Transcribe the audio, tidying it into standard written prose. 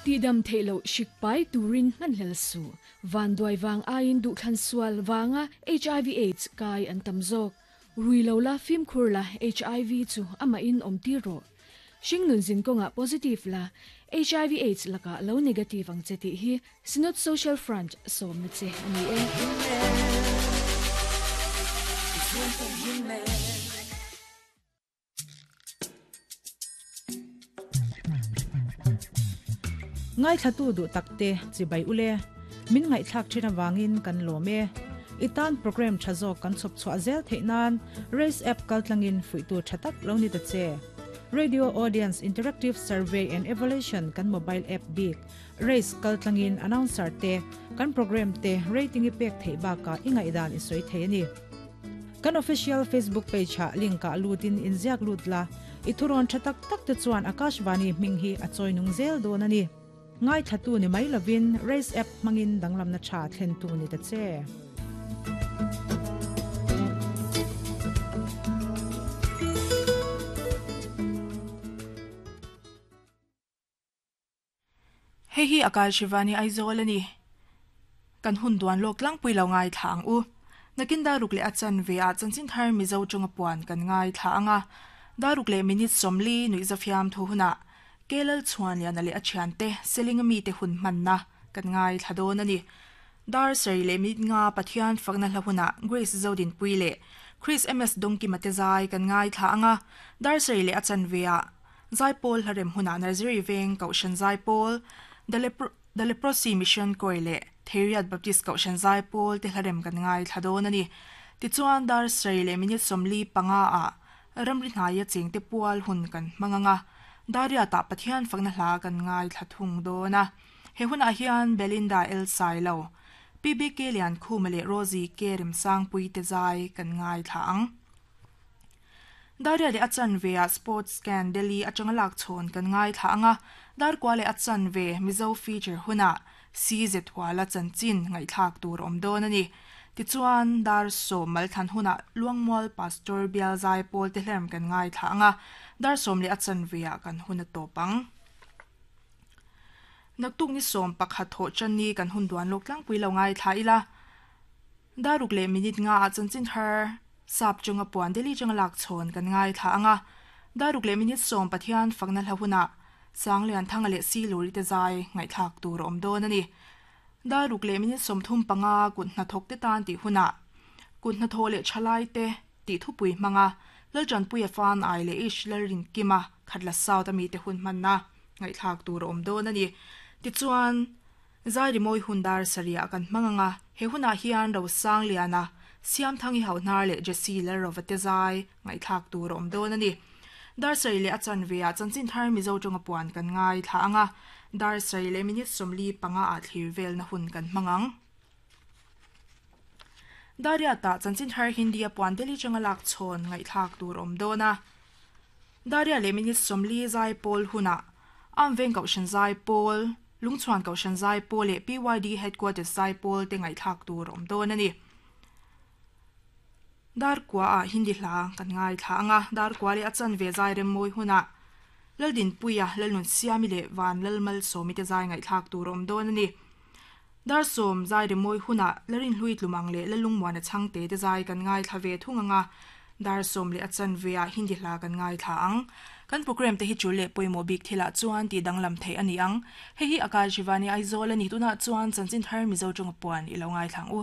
Tihdam theih loh hrik pai turin hmanhlel suh. Vanduai vang aiin duhthlan sual vanga hiv aids kai an tam zawk. Rui lo la, fimkhur la, hiv chu amahin awm tir rawh. Hringnun zin kawngah positive la, hiv aids lakah lo negative ang che tih hi Synod Social Front sawmna che a ni e. Ngaithlatu duh takte chibai ule, min ngaihthlak thin avangin kan lawm e. I tan program tha zawk kan chhawp chhuah zel theih nan Race app kaltlangin fuihtu tha tak lo ni ta che. Radio Audience Interactive Survey and Evaluation kan mobile app bik Race kaltlangin announcer te kan program te rating i pek theih bakah i ngaihdan i sawi thei a ni. Kan official Facebook page ah link ah lut in inziak lut la, i thurawn tha tak tak te chuan Akashvani hming hi a chawi nung zel dawn a ni. Ngaithlatu ni mai lovin Race app hmangin danglamna tha thlentu ni ta che. Hei hi Akal Shivani Aizawl a ni. Kan hun duan lawk tlangpui lo ngaithla ang u. Nakin daruk leh a chanve ah chanchin thar Mizo tawnga puan kan ngaithla ang a. Daruk leh minute 40 nuihzafiam thu hunah Kelal Chhuanliana leh a thiante Selinga mite hun hmanna kan ngaithla dawn a ni. Dar sarih leh minute nga Pathian fakna hla hunah Grace Zodinpui leh Chris MS Dawngkima te zai kan ngaithla ang a. Dar sarih leh a chanve ah Zaipawl hlarem hunah Nursery Veng Kohhran Zaipawl, The The Leprosy Mission Choir leh Theiriat Baptist Kohhran Zaipawl te hlarem kan ngaithla dawn a ni. Tichuan, dar sarih leh minute 45 ah ramri hnaia chengte pual hun kan hmang ang a, Dariatah Pathian fakna hla kan ngaithla thung dawn a. He hunah hian Belinda El Sailo, PBK Liankhuma leh Rosie K Remsangpui te zai kan ngaithla ang. Daria leh a chanve ah Sports Scan Delhi atanga lak chhawn kan ngaithla ang a, Darkua leh a chanve Mizo Feature hunah CZ Huala chanchin ngaihthlak tur a awm dawn a ni. Tichuan, dar 10 malthlan hunah Luangmual Pastor Bial Zai Pawl te hlerm kan ngaithla ang a, dar 10 leh a chanve ah kan hun a tawp ang. Naktuk ni 11 thawh tan ni kan hun duan lawk tlangpui lo ngaithla ila. Daruk leh minute nga ah chanchin thar sap chunga puan Delhi changa lak chhawn kan ngaithla ang a, daruk leh minute 10 Pathian fakna hla hunah Sanglianthanga leh Siluri te zai ngaihthlak tur a awm dawn a ni. Daruk leh minute 35 kut hnathawk te tan tih hunah kut hnathawh leh thalai te tih thupui hmanga Laltanpuia Fan Ai leh Ish Lalrinkima Khatla South ami te hun hmanna ngaihthlak tur a awm dawn a ni. Tichuan. Zai rimawi hun dar sarih kan hmang ang a, he hunah hian Rosangliana, Siamthangi Hauhnar leh Jesse Lalrova te zai ngaihthlak tur a awm dawn a ni. Dar sarih leh a chanve ah chanchin thar Mizo tawnga puan kan ngaithla ang a, dar sarih leh minute 45 ah thlir velna hun kan hmang ang. Dariatah chanchin thar Hindi a puan Delhi tanga lak chhawn ngaihthlak tur a awm dawn a. Daria leh minute 40 zai pawl hunah Amveng Kohhran zai pawl, Lungchhuan Kohhran zai pawl leh PYD Headquarters zai pawl te ngaihthlak tur a awm dawn a ni. Darkua ah Hindi hla kan ngaithla ang a, Darkua leh a chanve zai remmawi hunah Laldinpuia, Lalnunsiami leh Van Lalmalsawmi te zai ngaihthlak tur a awm dawn a ni. Dar 10 zai remmawi hunah Larinhlui Tlumang leh Lalungmuana Chhangte te zai kan ngaithla ve thung ang a, dar 10 leh a chanve ah Hindi hla kan ngaithla ang. Kan program te hi tul leh pawimawh bik thilah chuan tih danglam theih a ni ang. Hei hi Akashvani Aizawl a ni tunah chuan chanchin thar Mizo tawnga puan i lo ngaithla ang u.